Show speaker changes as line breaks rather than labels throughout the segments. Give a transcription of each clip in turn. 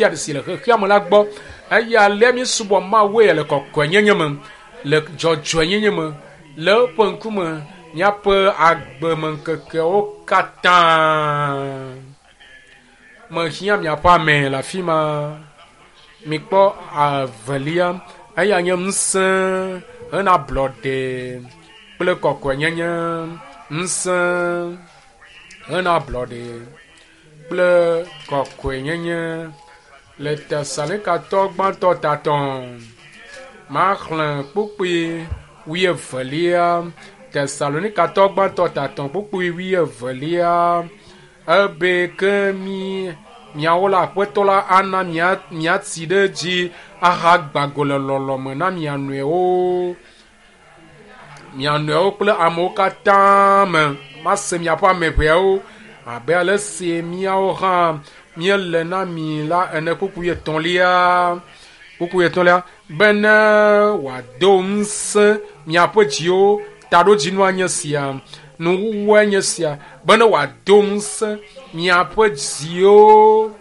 sia ɖe si le xexea me la gbɔ. Eye alea míesubɔ Mawue le kɔkɔenyenye me, le dzɔdzɔenyenye me, le eƒe ŋkume míaƒe agbemeŋkekewo katã. Mehiã miaƒe ame le afi ma. Mikpɔ evelia, eya nye ŋusẽ hena ablɔɖe kple kɔkɔenyenye. Ŋusẽ hena ablɔɖe kple kɔkɔenyenye le Tesalonikatɔ gbãtɔ tatɔ. Maxlẽ kpukpui wuievelia. Tesalonikatɔ gbãtɔ tatɔ kpukpui wuievelia. Ebe ke mi miawo la aƒetɔ la ana mia miatsi ɖe edzi ahagba go le lɔlɔme na mia nɔewo. Mia nɔewo kple amewo katã me. Mase miaƒe ame ʋeawo abe ale si míawo hã míele na mi la ene. Kpukpui etɔ̃lia. Kpukpui etɔ̃lia bene wòado ŋusẽ miaƒe dziwo. Taɖodzinua nye sia. Nuwuwue nye sia bene wòado ŋusẽ miaƒe dziwo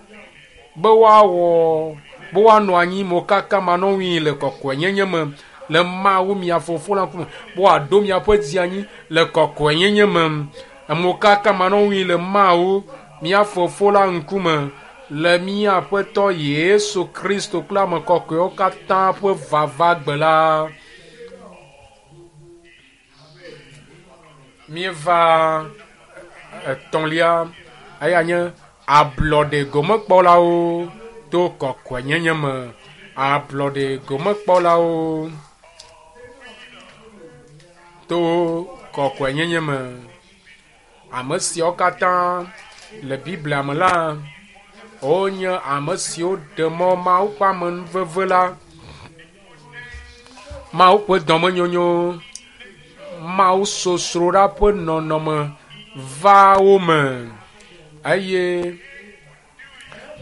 be woawɔ be woanɔ anyi mokaka manɔŋui le kɔkɔenyenye me le Mawu mia Fofo la ŋkume be wòaɖo miaƒe dzi anyi le kɔkɔenyenye me mokaka manɔŋui le Mawu mía Fofo la ŋkume le mía Aƒetɔ Yesu Kristo kple ame kɔkɔewo katã ƒe vava gbe la. Míeva etɔ̃lia, eya nye ablɔɖe gomekpɔlawo to kɔkɔenyenye me. Ablɔɖe gomekpɔlawo to kɔkɔenyenye me. Ame siawo katã le Biblia me la, wonye ame siwo ɖe mɔ Mawu ƒe amenuveve la, Mawu ƒe dɔmenyonyo, Mawu sosroɖa ƒe nɔnɔme va wo me eye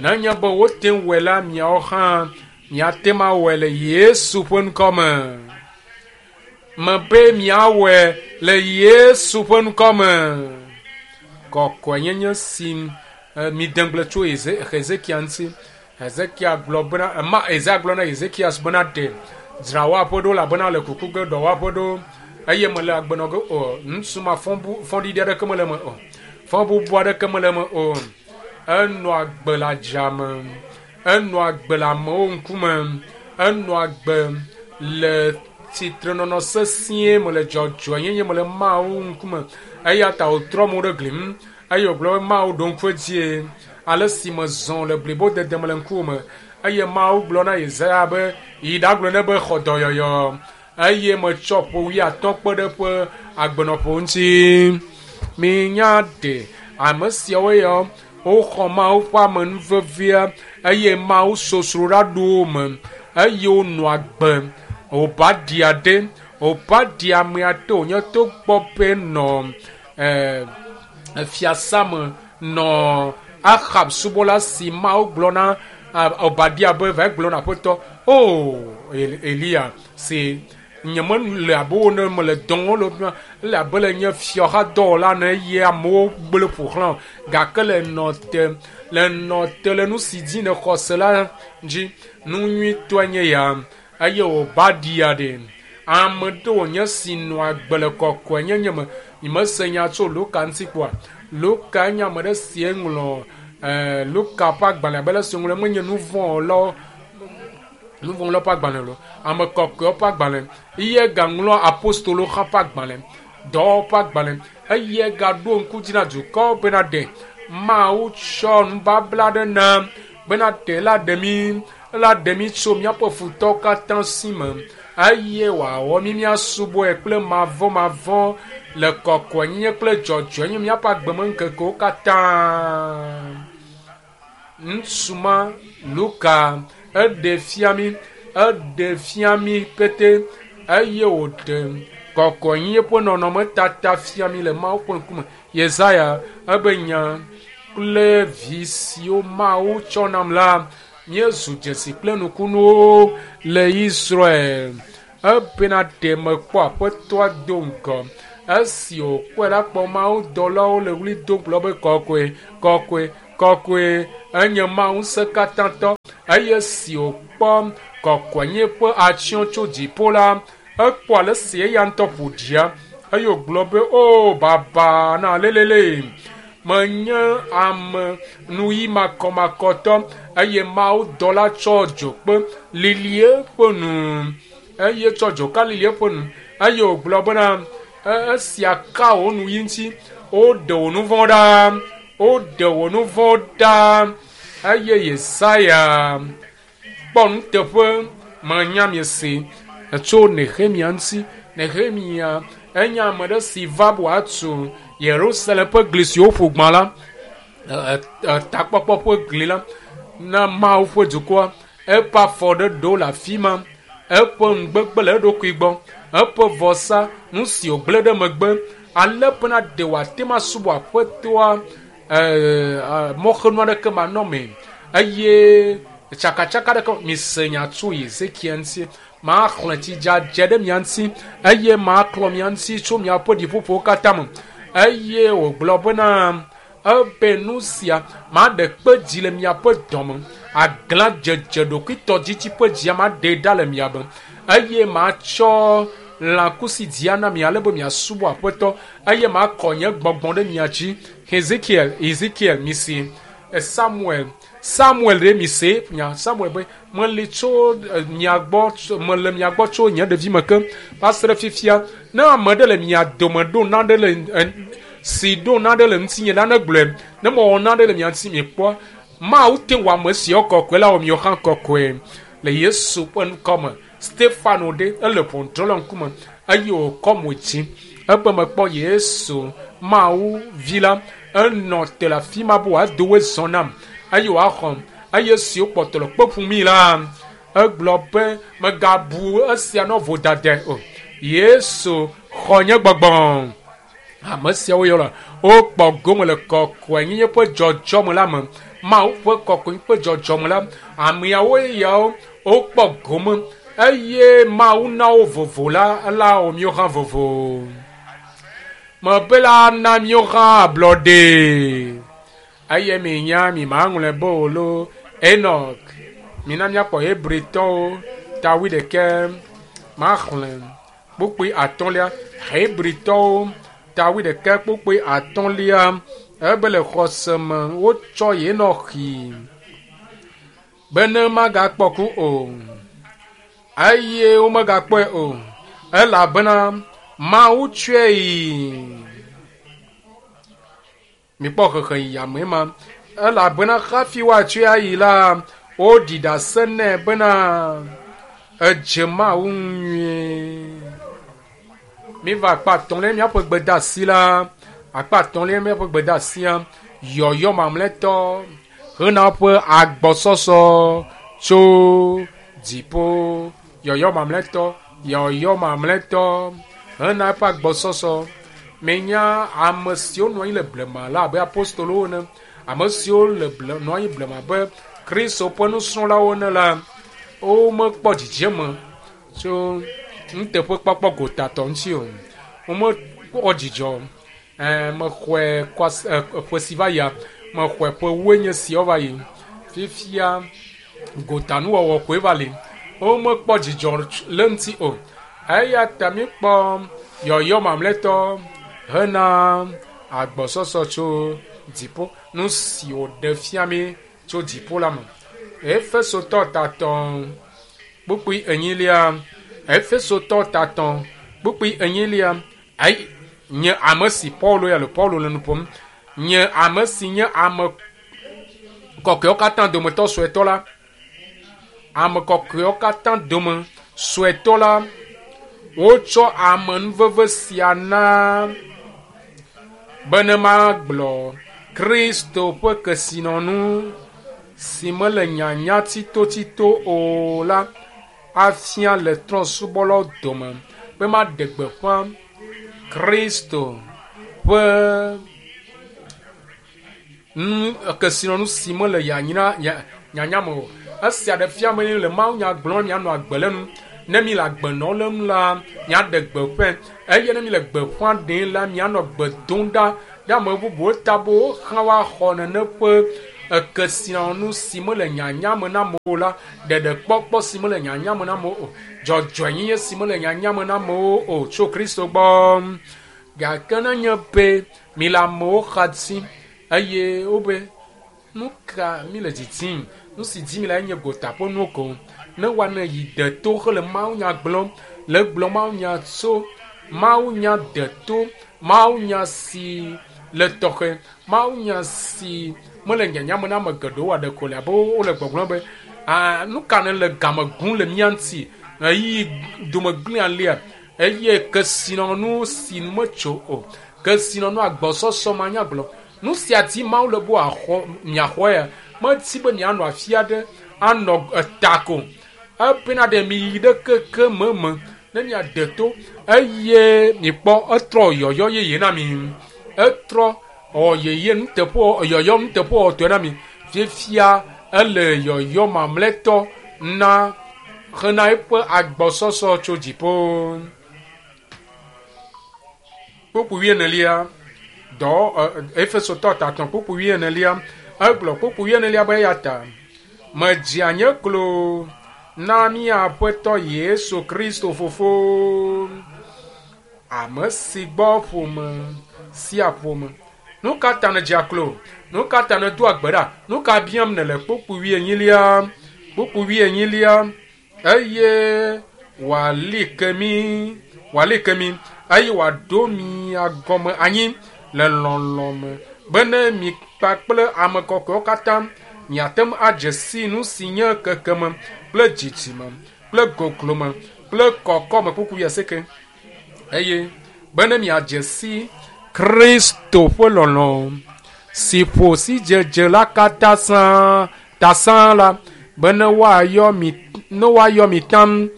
nenye be wote ŋu wɔe la, miawo hã miate ŋu awɔe le Yesu ƒe ŋkɔ me. Mebe miawɔe le Yesu ƒe ŋkɔ me. Kɔkɔenyenye si mide ŋugble tso Hezekia ŋuti. Hezekia gblɔ bena, ema Ezaya gblɔ na Hezekias bena ɖe dzra wò aƒe ɖo elabena le kuku ge ɖɔ wò aƒe ɖo eye mele agbe nɔ ge o. Ŋutsu ma fɔɖiɖi aɖeke mele eme o. Fɔbubu aɖeke mele eme o. Enɔ agbe le adzame. Enɔ agbe le amewo ŋkume. Enɔ agbe le tsitrenɔnɔ sesĩe me le dzɔdzɔenyenye me le Mawu ŋkume. Eya ta wòtrɔ mo ɖe gli ŋu eye wògblɔ be Mawu ɖo ŋku edzie ale si mezɔ le blibodede me le ŋkuwò me. Eye Mawu gblɔ na Yesaya be, Yi ɖagblɔ nɛ be xɔ dɔyɔyɔ. Eye metsɔ ƒe wuiatɔ̃ kpe ɖe eƒe agbenɔƒe ŋuti. Minya ɖe ame siawo ya woxɔ Mawu ƒe amenuvevea eye Mawu sosroɖa ɖo wo me eye wonɔ agbe. Obadia ɖe, Obadia amea ɖe wònye togbɔ be nɔ fiasa me nɔ Ahab subɔla si Mawu gblɔ na Obadia be va gblɔ na aƒetɔ o Eliya si nye mele abe wo ne mele dɔ wɔm le ele abe le nye fiaxadɔwɔla ene eye amewo gblẽ ƒo xlã gake le nɔ te le nɔ te le nu si dzi nèxɔ se la dzi. Nu nyuitɔe nye ya eye Obadia ɖe ame ɖe wònye si nɔ agbe le kɔkɔenyenye me. Nyemese nya tso Luka ŋuti kpɔa. Luka nye ame ɖe si ŋlɔ Luka ƒe agbalẽ abe ale si woŋlɔe menye nu vɔ̃ wɔlawo ƒe agbalẽ o, ame kɔkɔewo ƒe agbalẽ. Eye gaŋlɔ apostolowo hã ƒe agbalẽ, dɔwɔwɔ ƒe agbalẽ eye gaɖo ŋku dzi na dukɔwo bena ɖe Mawu tsɔ nubabla ɖe na bena ɖe la ɖe mí la ɖe mí tso míaƒe futɔwo katã si me eye wòawɔ mí míasubɔe kple mavɔmavɔ le kɔkɔenyenye kple dzɔdzɔenyenye míaƒe agbemeŋkekewo katã. Ŋutsu ma Luka eɖe fia mí eɖe fia mí pete eye wòɖe kɔkɔenyenye ƒe nɔnɔmetata fia mí le Mawu ƒe ŋkume. Yesaya ebe nya kple vi siwo Mawu tsɔ nam la míezu dzesi kple nukunuwo le Israel. Ebena ɖe mekpɔ aƒetɔa do ŋgɔ. Esi wòkpɔe la kpɔ mawudɔlawo le ɣli dom gblɔ be kɔkɔe, kɔkɔe, kɔkɔe enye Mawu ŋusẽkatãtɔ. Eye si wòkpɔ kɔkɔenye ƒe atsyɔ̃ tso dziƒo la, ekpɔ ale si eya ŋutɔ ƒo ɖia eye wògblɔ be, o baba na lelele, menye ame nuyi makɔmakɔtɔ. Eye mawudɔla tsɔ dzokpe lili eƒe nu, eye tsɔ dzoka lili eƒe nu, eye wògblɔ bena, esia ka wò nuyi ŋuti, woɖe wò nu vɔ̃ ɖa, woɖe wò nu vɔ̃ ɖa. Eye Yesaya kpɔ nuteƒe menya miese tso Nehemia ŋuti. Nehemia enye ame ɖe si va be wòatu Yerusalem ƒe gli si woƒo gbã la, takpɔkpɔ ƒe gli la na Mawu ƒe dukɔa. Eƒe afɔ ɖe ɖo le afi ma, eƒe nugbegbe le eɖokui gbɔ, eƒe vɔsa, nu si wògblẽ ɖe megbe, ale bena ɖe wòate ŋu asubɔ Aƒetɔa mɔxenu aɖeke manɔmee, eye tsakatsaka ɖeke mise nya tso Ezekiel ŋuti. Maxlẽ tsi dzadze ɖe mia ŋuti, eye maklɔ mia ŋuti tso miaƒe ɖiƒoƒowo katã me. Eye wògblɔ bena, ebe nu sia maɖe kpe dzi le miaƒe dɔme, aglã dzedze ɖokuitɔdzidzi ƒe dzia maɖe ɖa le mia me, eye matsɔ lãkusi dzia na mi ale be miasubɔ Aƒetɔ, eye makɔ nye gbɔgbɔ ɖe mia dzi. Ezekiel mise, Samuel ɖe mise nya Samuel be meli tso mia gbɔ, mele mia gbɔ tso nye ɖevime ke va se ɖe fifia. Ne ame ɖe le mia dome ɖo naɖe le si ɖo naɖe le ŋutinye la, ne gblɔe, ne mewɔ naɖe le mia ŋuti miekpɔ, Mawu te wɔ ame siawo kɔkɔe la wɔ miwo hã kɔkɔe le Yesu ƒe ŋkɔme. Stefano ɖe ele ʋɔnudrɔ̃la ŋkume eye wòkɔ mo dzi ebe mekpɔ Yesu Mawu vi la enɔ te le afi ma be wòado woe zɔ nam eye wòaxɔm. Eye siwo kpɔtɔ le kpe ƒum la, egblɔ be megabu esia nɔ vodadae o. Yesu xɔ nye gbɔgbɔ. Ame siawo yɔ la, wokpɔ gome le kɔkɔenyenye ƒe dzɔdzɔme la me. Mawu ƒe kɔkɔenyenye ƒe dzɔdzɔme la, ameawo yawo wokpɔ gome eye Mawu na wo vovo la, la wɔ míwo hã vovo. Mebe la na míwo hã ablɔɖe. Eye minya mi maŋlɔe be o lo Enoch. Mina míakpɔ Hebritɔwo ta wuiɖekɛ maxlẽ kpukpui atɔ̃lia. Hebritɔwo ta wuiɖekɛ kpukpui atɔ̃lia. Ebe le xɔse me wotsɔ Enoch bene magakpɔ ku o, eye womegakpɔe o, elabena Mawu tsɔe yi. Mikpɔ xexe yi ame ma, elabena hafi woatsɔe ayi la, woɖi ɖase nɛ bena edze Mawu nyuie. Miva akpa atɔ̃lia míaƒe gbedeasi la, akpa atɔ̃lia míaƒe gbedeasia, yɔyɔ mamlɛtɔ hena ƒe agbɔsɔsɔ tso dziƒo. Yɔyɔ mamlɛtɔ, yɔyɔ mamlɛtɔ hena eƒe agbɔsɔsɔ. Menya ame siwo nɔ anyi le blema la abe apostolowo ene, ame siwo le nɔ anyi blema abe Kristo ƒe nusrɔ̃lawo ene la, womekpɔ dzidzeme tso nuteƒekpɔkpɔ gotatɔ ŋuti o. Womekpɔ dzidzɔ. Mexɔe ƒe si va yia, mexɔe ƒe woe nye siawo va yi. Fifia gotanuwɔwɔ koe va li. Womekpɔ dzidzɔ le ŋuti o. Eya ta míkpɔ yɔyɔ mamlɛtɔ hena agbɔsɔsɔ tso dziƒo. Nu si wòɖe fia mí tso dziƒo la me. Efesotɔ tatɔ kpukpui enyilia. Efesotɔ tatɔ kpukpui enyilia. Ayi nye ame si Paulo ya le Paulo le nu ƒom. Nye ame si nye ame kɔkɔewo katã dometɔ suetɔ la. Ame kɔkɔewo katã dome suetɔ la, wotsɔ amenuveve sia na bene magblɔ Kristo ƒe kesinɔnu si mele nyanya tsitotsito o la afia le trɔ̃subɔlawo dome be maɖe gbeƒã Kristo ƒe kesinɔnu si mele nyanya me o. Esia ɖe fia be le mawunya gblɔm mianɔ agbe le nu. Ne mi le agbe nɔ le nu la, miaɖe gbeƒãe. Eye ne mi le gbeƒã ɖem la, mianɔ gbe dom ɖa ɖe ame bubuwo ta be wohã woaxɔ nene ƒe Kesinɔnu si mele nyanya me na amewo la, ɖeɖekpɔkpɔ si mele nyanya me na amewo o, dzɔdzɔenyenye si mele nyanya me na amewo o tso Kristo gbɔ. Gake nenye be mi le amewo xa dim eye wobe nu ka mi le didim, nu si dim mi le enye gota ƒe nuwo ko. Ne woane yi deto hele mawunya gblɔm, le gblɔ mawunya tso mawunya deto, mawunya si le tɔxɛ, mawunya si mele nyanya me na ame geɖewo aɖe ko le abe wole gbɔgblɔm be nu ka ne le game gum le mía ŋuti ɣeyiɣi dome gblẽ alea eye kesinɔnu si nu metso o, kesinɔnu agbɔsɔsɔ manyagblɔ. Nu sia di Mawu le be wòaxɔ miaxɔe ya medi be mianɔ afi aɖe anɔ eta ko ebena ɖe mi yi ɖe keke me me ne miade to eye mikpɔ etrɔ yɔyɔ yeye na mi etrɔ wɔ yeye nuteƒe yɔyɔ nuteƒewɔwɔtɔe na mi fifia ele yɔyɔ mamlɛtɔ na hena eƒe agbɔsɔsɔ tso dziƒo. Kpukpui wuienelia dɔ Efesotɔ tatɔ̃ kpukpui wuienelia egblɔ kpukpui wuienelia be eya ta medzia nye klo na mía Aƒetɔ Yesu Kristo Fofo, ame si gbɔ ƒome sia ƒome. Nu ka ta nèdzea klo? Nu ka ta nèdoa gbe ɖa? Nu ka biam nèle? Kpukpui wuienyilia, kpukpui wuienyilia eye wòali ke mí, wòali ke mí eye wòaɖo mia gɔme anyi le lɔlɔ̃ me bene mi kpakple ame kɔkɔewo katã miate ŋu adze si nu si nye kekeme kple dzidzime kple goglome kple kɔkɔme kpukpui wuiasieke eye bene miadze si Kristo ƒe lɔlɔ̃ si ƒo sidzedze la katã sãa ta sãa la bene woayɔ mi ne woayɔ mi tam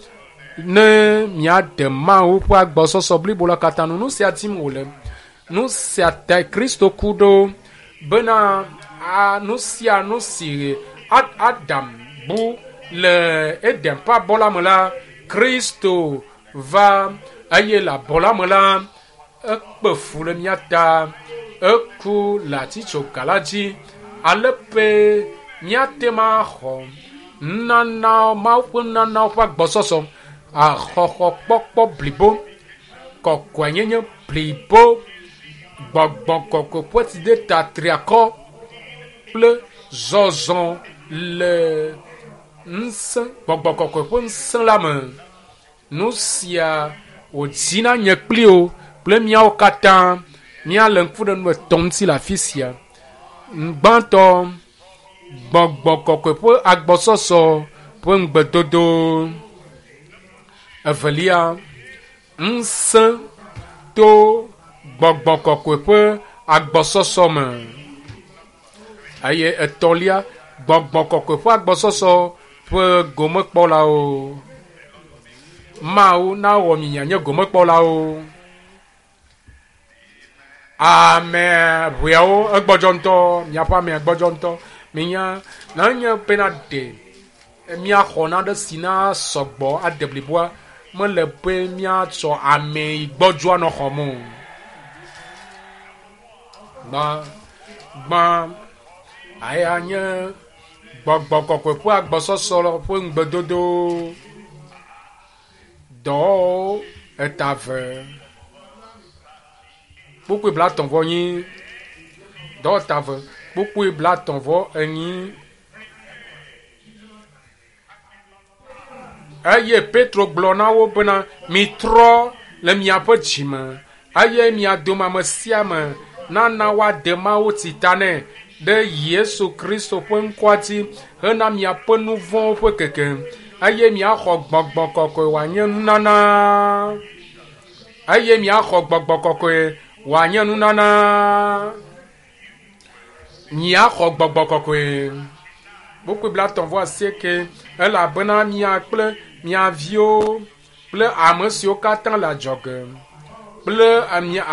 ne miade Mawu ƒe agbɔsɔsɔ blibo la katã nu. Nu sia dim wòle. Nu sia tae Kristo ku ɖo bena nu sia nu si Adam bu le Eden ƒe abɔ la me la, Kristo va eye le abɔ la me la, ekpe fu le mía ta, eku le atitsoga la dzi ale be míate ŋu axɔ nunana Mawu ƒe nunanawo ƒe agbɔsɔsɔ, axɔxɔkpɔkpɔ blibo, kɔkɔenyenye blibo, gbɔgbɔ kɔkɔe ƒe tsideta triakɔ kple zɔzɔ le ŋusẽ gbɔgbɔ kɔkɔe ƒe ŋusẽ la me. Nu sia wòdzi na nye kpli wo kple míawo katã míale ŋku ɖe nu etɔ̃ ŋuti le afi sia. Gbãtɔ, gbɔgbɔ kɔkɔe ƒe agbɔsɔsɔ ƒe ŋugbedodo. Evelia, ŋusẽ to gbɔgbɔ kɔkɔe ƒe agbɔsɔsɔ me. Eye etɔ̃lia, gbɔgbɔ kɔkɔe ƒe agbɔsɔsɔ ƒe gomekpɔlawo. Mawu nawɔ mi mianye gomekpɔlawo. Ame ʋeawo egbɔdzɔ ŋutɔ, miaƒe amea gbɔdzɔ ŋutɔ. Minya nenye bena ɖe míaxɔ naɖe si na sɔgbɔ ade bliboa, mele be míatsɔ ame yi gbɔdzɔa nɔ xɔm o. Gbã, gbã, eya nye gbɔgbɔ kɔkɔe ƒe agbɔsɔsɔ ƒe ŋugbedodo. Dɔwɔwɔwo eta ve kpukpui blatɔ̃ vɔ enyi. Dɔwɔta ve kpukpui blatɔ̃ vɔ enyi. Eye Petro gblɔ na wo bena, mitrɔ le miaƒe dzime eye mia dome ame sia ame nana woade Mawu tita nɛ ɖe Yesu Kristo ƒe ŋkɔa dzi hena miaƒe nu vɔ̃wo ƒe keke eye miaxɔ gbɔgbɔ kɔkɔe wòanye nunana. Eye miaxɔ gbɔgbɔ kɔkɔe wòanye nunana. Miaxɔ gbɔgbɔ kɔkɔe. Kpukpui blatɔ̃ vɔ asieke elabena mia kple mia viwo kple ame siwo katã le adzɔge kple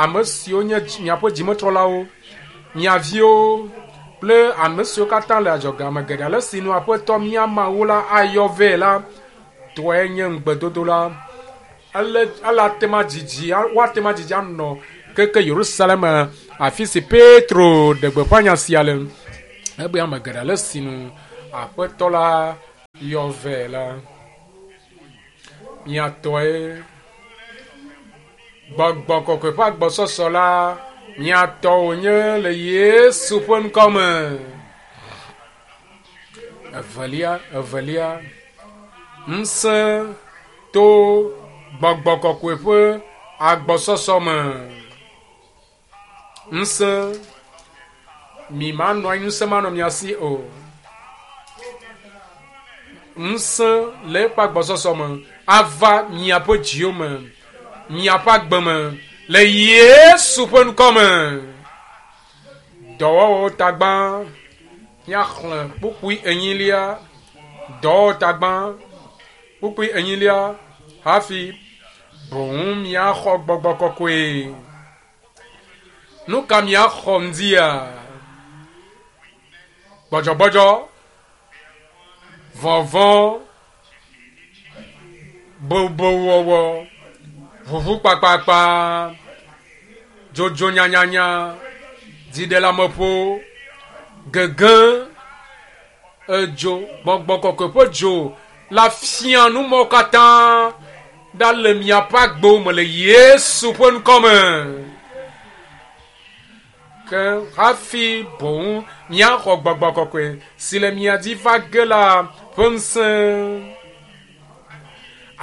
ame siwo nye miaƒe dzimetrɔlawo, mia viwo kple ame siwo katã le adzɔge ame geɖe ale si nu Aƒetɔ mía Mawu la ayɔ vɛ la tɔe nye ŋugbedodo la. Ele ele ate ŋu adzidzi woate ŋu adzidzi anɔ keke Yerusalem afi si Petro ɖe gbeƒã nya sia le. Ebe ame geɖe le sinu Aƒetɔ la yɔ vɛ la. Mia tɔe Gbɔgbɔ kɔkɔe ƒe agbɔsɔsɔ la mia tɔ wònye le Yesu ƒe ŋkɔ me. Evelia, evelia, ŋusẽ to gbɔgbɔ kɔkɔe ƒe agbɔsɔsɔ me. Ŋusẽ, mi manɔ anyi ŋusẽ manɔ mia si o. Ŋusẽ le eƒe agbɔsɔsɔ me ava miaƒe dziwo me, miaƒe agbe me le Yesu ƒe ŋkɔ me. Dɔwɔwɔwo tagbã, míaxlẽ kpukpui enyilia. Dɔwɔwɔ tagbã, kpukpui enyilia hafi boŋ miaxɔ gbɔgbɔ kɔkɔe. Nu ka miaxɔ ŋdia? Gbɔdzɔgbɔdzɔ, vɔvɔ̃, bobowɔwɔ, ʋuʋu kpakpakpa, dzodzo nyanyanya, dziɖeleameƒo, gege, edzo, gbɔgbɔ kɔkɔe ƒe dzo la fia nu mawo katã ɖa le miaƒe agbewo me le Yesu ƒe ŋkɔ me. Ke hafi boŋ miaxɔ gbɔgbɔ kɔkɔe si le mia dzi va ge la ƒe ŋusẽ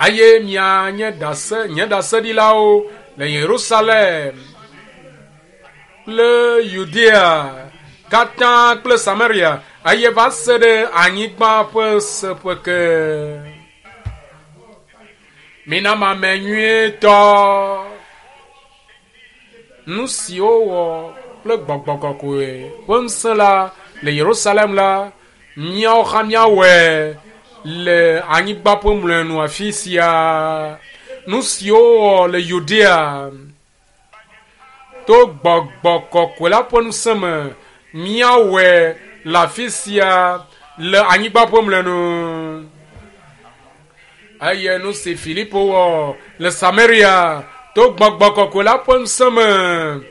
eye mianye ɖase, nye ɖaseɖilawo le Yerusalem kple Yudea katã kple Samaria eye va se ɖe anyigba ƒe seƒe ke. Mina mame nyuietɔ. Nu si wowɔ kple gbɔgbɔ kɔkɔe ƒe ŋusẽ la le Yerusalem la, míawo hã míawɔe le anyigba ƒe mlɔenu afi sia. Nu si wowɔ le Yudea to gbɔgbɔ kɔkɔe la ƒe ŋusẽ me, míawɔe le afi sia le anyigba ƒe mlɔenu. Eye nu si Filipo wɔ le Samaria to gbɔgbɔ kɔkɔe la ƒe ŋusẽ me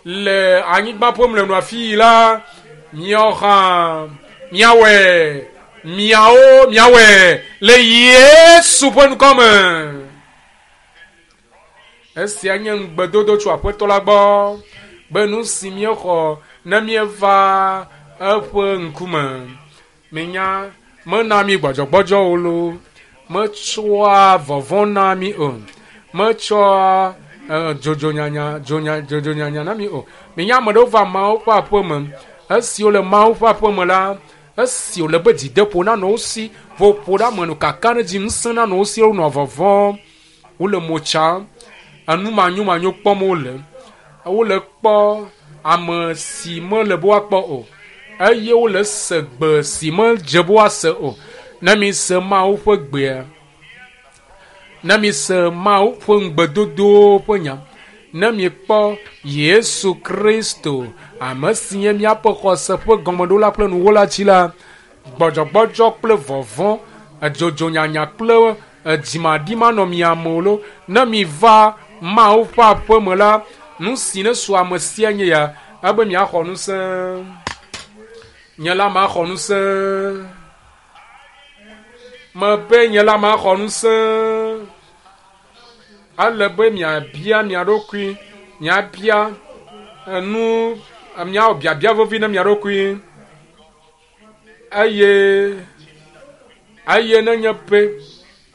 le anyigba ƒe mlɔenu afi yi la, míawo hã míawɔe, miawo míawɔe le Yesu ƒe ŋkɔ me. Esia nye ŋugbedodo tso Aƒetɔ la gbɔ be nu si míexɔ ne míeva eƒe ŋkume. Minya, mena mí gbɔdzɔgbɔdzɔ o loo, metsɔa vɔvɔ̃ na mí o, metsɔa dzodzonyanya, dzonya, dzodzonyanya na mí o. Minya, ame ɖewo va Mawu ƒe aƒe me. Esi wole Mawu ƒe aƒe me la, esi wòle be dzideƒo nanɔ wo si, ƒoƒo ɖe ame nu, kakaɖedzi ŋusẽ nanɔ wo si, wonɔ vɔvɔ̃m, wole mo tsam, enu manyomanyo kpɔm wole. Wole kpɔ ame si mele be woakpɔ o eye wole se gbe si medze be woase o. Ne mise Mawu ƒe gbea, ne mise Mawu ƒe ŋugbedodowo ƒe nya, ne miekpɔ Yesu Kristo, ame si nye míaƒe xɔse ƒe gɔmeɖola kple nuwɔla dzi la, gbɔdzɔgbɔdzɔ kple vɔvɔ̃, edzodzonyanya kple edzimaɖi manɔ mia me o lo. Ne miva Mawu ƒe aƒe me la, nu si nesu ame sia nye ya, ebe miaxɔ ŋusẽ. Nye la maxɔ ŋusẽ. Mebe nye la maxɔ ŋusẽ. Ele be miabia mia ɖokui, miabia enu, miawɔ biabia vevi na mia ɖokui. Eye eye nenye be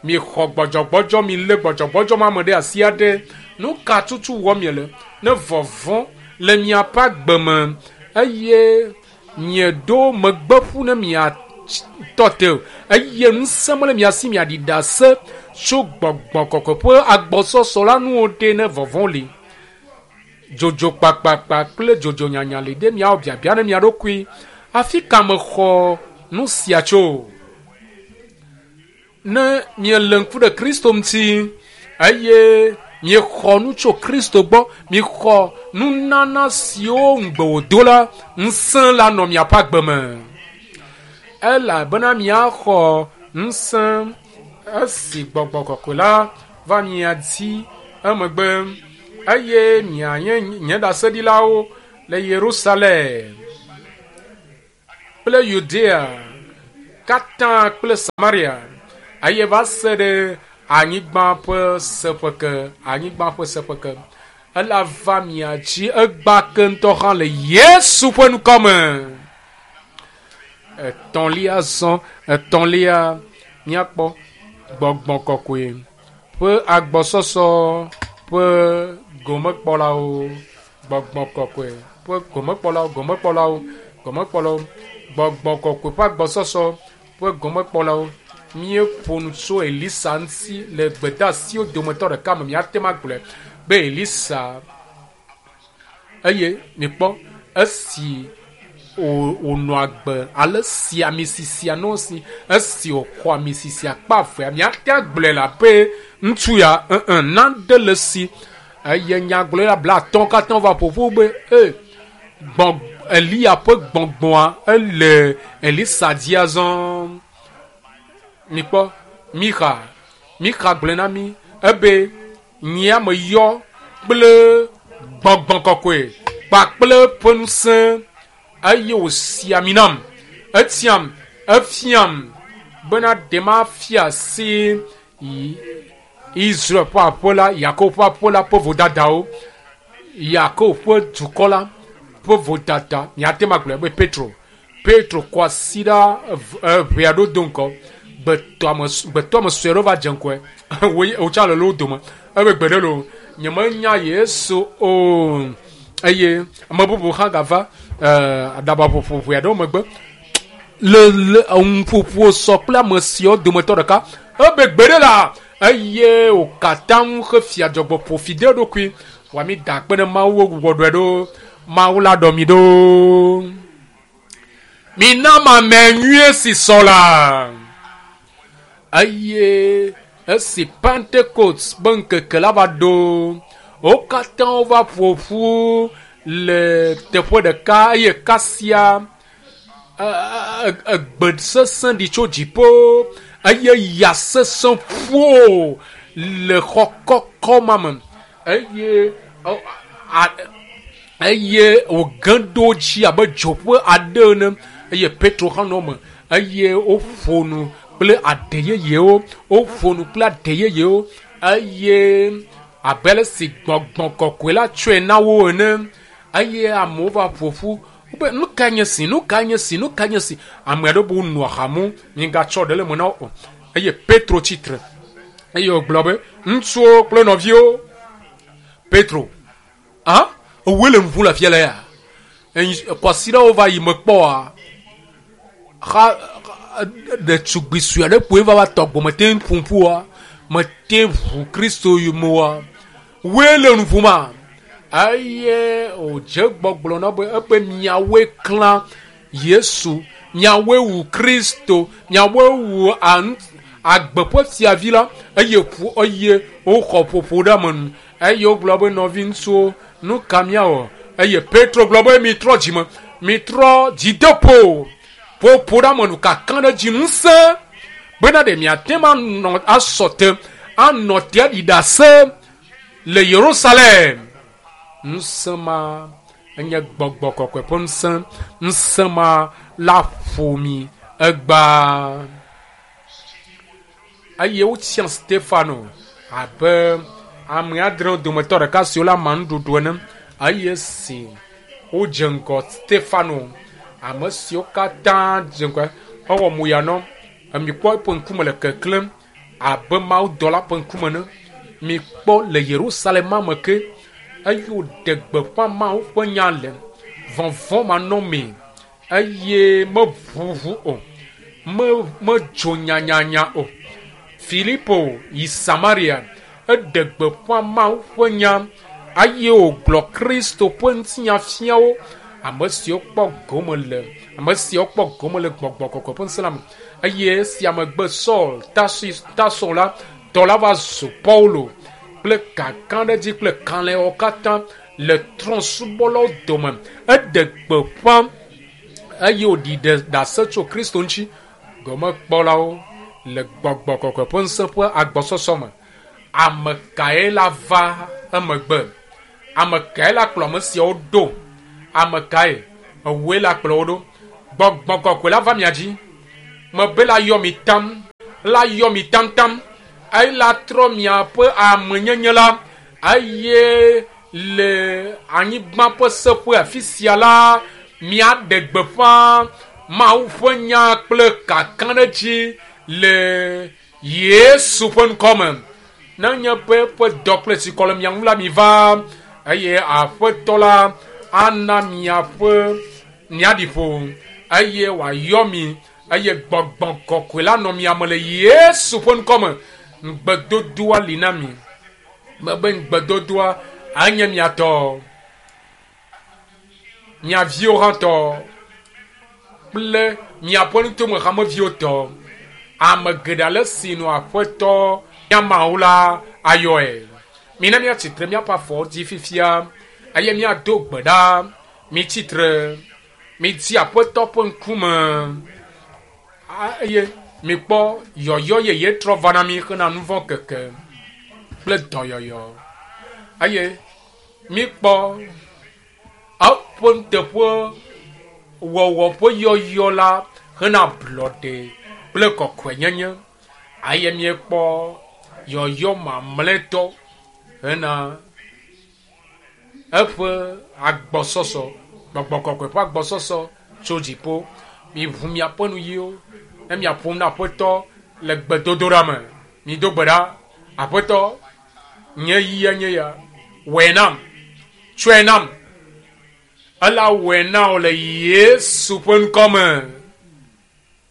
miexɔ gbɔdzɔgbɔdzɔ, milé gbɔdzɔgbɔdzɔ ma me ɖe asi aɖe, nu ka tutu wɔm miele? Ne vɔvɔ̃ le miaƒe agbe me eye mieɖo megbe ƒu ne miatɔ te o eye ŋusẽ mele mia si miaɖi ɖase tso gbɔgbɔ kɔkɔe ƒe agbɔsɔsɔ la nu o ɖe ne vɔvɔ̃ li. Dzodzo kpakpakpa kple dzodzo nyanya li ɖe miawɔ biabia ne mia ɖokui, afi ka mexɔ nu sia tso? Ne miele ŋku ɖe Kristo ŋuti eye miexɔ nu tso Kristo gbɔ, miexɔ nunana siwo ŋugbe wòdo la, ŋusẽ la nɔ miaƒe agbe me. Elabena miaxɔ ŋusẽ esi gbɔgbɔ kɔkɔe la va mia dzi emegbe eye mianye nye ɖaseɖilawo le Yerusalem. kple Yudea katã kple Samaria eye va se ɖe anyigba ƒe seƒe ke, anyigba ƒe seƒe ke. Ela va mia dzi egba ke ŋutɔ hã le Yesu ƒe ŋkɔ me. Etɔ̃lia zɔ, etɔ̃lia míakpɔ gbɔgbɔ kɔkɔe ƒe agbɔsɔsɔ ƒe gomekpɔlawo, gbɔgbɔ kɔkɔe ƒe gomekpɔlawo, gomekpɔlawo, gomekpɔlawo, gbɔgbɔ kɔkɔe ƒe agbɔsɔsɔ ƒe gomekpɔlawo. Míeƒo nu tso Elisa ŋuti le gbedeasiwo dometɔ ɖeka me. Míate ŋu agblɔe be Elisa eye mikpɔ esi wònɔ agbe ale si ami sisia nɔ esi esi wòxɔ ami sisia kpe avea míate agblɔe le abe ŋutsu ya ẽ nane le esi eye nyagblɔɖila 50 katã va ƒoƒu be e gbɔ Eliya ƒe gbɔgbɔa ele Elisa dzi azɔ. Mikpɔ Mixa, Mixa gblɔe na mí ebe nyea me yɔ kple gbɔgbɔ kɔkɔe kpakple ƒe ŋusẽ eye wòsi ami nam, etiam, efiam bena ɖe mafia asi Israel ƒe aƒe la, Yakob ƒe aƒe la ƒe vodadawo, Yakob ƒe dukɔ la ƒe vodada. Míate ŋu agblɔe be Petro, Petro kɔ asi ɖa ʋe aɖewo do ŋgɔ, gbetɔame sue aɖewo va dze ŋgɔe, wotsa le wo dome. Ebe gbe ɖe loo, nyemenya Yesu o. Eye ame bubu hã gava aɖabaƒoƒo ʋe aɖewo megbe le ŋuƒoƒo sɔ kple ame siawo dometɔ ɖeka. Ebe gbe ɖe la, eye wòkatã ŋu hefia dzɔgbɔ ƒo fi de eɖokui. Wɔ mi da akpe ɖe Mawu wo gbugbɔ ɖɔe ɖo. Mawu la ɖɔ mi ɖo. Mina mame nyuie si sɔ la. Eye esi Pentecost be ŋkeke la va ɖo, wo katã wova ƒo ƒu le teƒe ɖeka eye kasia egbe sesẽ ɖi tso dziƒo eye ya sesẽ ƒo le xɔ kɔkɔ ma me eye eye wòge ɖo dzi abe dzo ƒe aɖe ene eye Petro hã nɔ eme eye woƒo nu kple aɖe yeyewo, woƒo nu kple aɖe yeyewo eye abe ale si gbɔgbɔ kɔkɔe la tsɔe na wo ene eye amewo va ƒo ƒu wobe nu ka nye si, nu ka nye si, nu ka nye si. Ame aɖewo be wonɔ aha mum, migatsɔ ɖe le eme na wo o. Eye Petro tsitre eye wògblɔ be ŋutsuwo kple nɔviwo, Petro, ah, ewòe le nu ƒom le afia le ya? Kwasiɖawo va yi mekpɔa, xa ɖetugbui sue aɖe kpoe va va tɔ gbɔ mete ŋu ƒom ƒu oa, mete ŋu Kristo yome oa, woe le nu ƒoma? Eye wòdze gbɔgblɔ na be ebe miawoe klã Yesu, miawoe wu Kristo, miawoe wu agbe ƒe fiavi la eye ƒo eye woxɔ ƒoƒo ɖe ame nu. Eye wogblɔ be nɔvi ŋutsuwo, nu ka míawɔ? Eye Petro gblɔ be mitrɔ dzime, mitrɔ dzideƒo, ƒoƒo ɖe ame nu kaka ɖe dzi ŋusẽ bena ɖe miate ŋu anɔ asɔ te anɔ te aɖi ɖase le Yerusalem. Ŋusẽ ma enye gbɔgbɔ kɔkɔe ƒe ŋusẽ. Ŋusẽ ma la ƒo mi egbea. Eye wotia Stefano abe ame adrewo dometɔ ɖeka siwo le ama nuɖuɖu ene. Eye si wodze ŋgɔ Stefano, ame siwo katã dze ŋgɔe, ewɔ moya nɔ. Mikpɔ eƒe ŋkume le keklẽm abe mawudɔla ƒe ŋkume ene. Mikpɔ le Yerusalem me ke eye wòɖe gbeƒã Mawu ƒe nya le vɔvɔ̃ manɔmee eye meʋuʋu o, medzo nyanyanya o. Filipo yi Samaria, eɖe gbeƒã Mawu ƒe nya eye wògblɔ Kristo ƒe ŋutinya fia wo. Ame siwo kpɔ gome le ame siwo kpɔ gome le gbɔgbɔ kɔkɔe ƒe ŋusẽ la me. Eye esia megbe Saul Tarso la tɔ la va zu Paulo kple kakaɖedzi kple kalẽwo katã le trɔ̃subɔlawo dome. Eɖe gbeƒã eye wòɖi ɖase tso Kristo ŋuti. Gomekpɔlawo le gbɔgbɔ kɔkɔe ƒe ŋusẽ ƒe agbɔsɔsɔ me. Ame kae la va emegbe? Ame kae la kplɔ ame siawo ɖo? Ame kae? Ewòe la kplɔ wo ɖo. Gbɔgbɔ kɔkɔe la va mia dzi. Mebe la yɔ mi tam, la yɔ mi tamtam, eye la trɔ miaƒe amenyenye la, eye le anyigba ƒe seƒe afi sia la, miaɖe gbeƒã Mawu ƒe nya kple kakaɖedzi le Yesu ƒe ŋkɔ me. Nenye be eƒe dɔ kple tsikɔ le mia ŋu la, miva eye Aƒetɔ la ana miaƒe miaɖi ƒo eye wòayɔ mi eye gbɔgbɔ kɔkɔe la nɔ mia me le Yesu ƒe ŋkɔ me. Ŋugbedodoa li na mi. Mebe ŋugbedodoa anye mia tɔ, mia viwo hã tɔ kple miaƒe nutome hameviwo tɔ. Ame geɖe ale si nɔ Aƒetɔ mía Mawu la ayɔe. Mina míatsi tre míaƒe afɔwo dzi fifia eye míado gbe ɖa. Mitsi tre, mitsi Aƒetɔ ƒe ŋkume eye mikpɔ yɔyɔ yeye trɔ va na mi hena nu vɔ̃ keke kple dɔyɔyɔ. Eye mikpɔ eƒe nuteƒe wɔwɔ ƒe yɔyɔ la hena ablɔɖe kple kɔkɔenyenye. Eye míekpɔ yɔyɔ mamlɛtɔ hena eƒe agbɔsɔsɔ, gbɔgbɔ kɔkɔe ƒe agbɔsɔsɔ tso dziƒo. Miʋu miaƒe nuyiwo ne miaƒo nu na Aƒetɔ le gbedodoɖa me. Mido gbe ɖa, Aƒetɔ, nye yia nye ya, wɔe nam, tsɔe nam. Ela wɔe na wò le Yesu ƒe ŋkɔ me.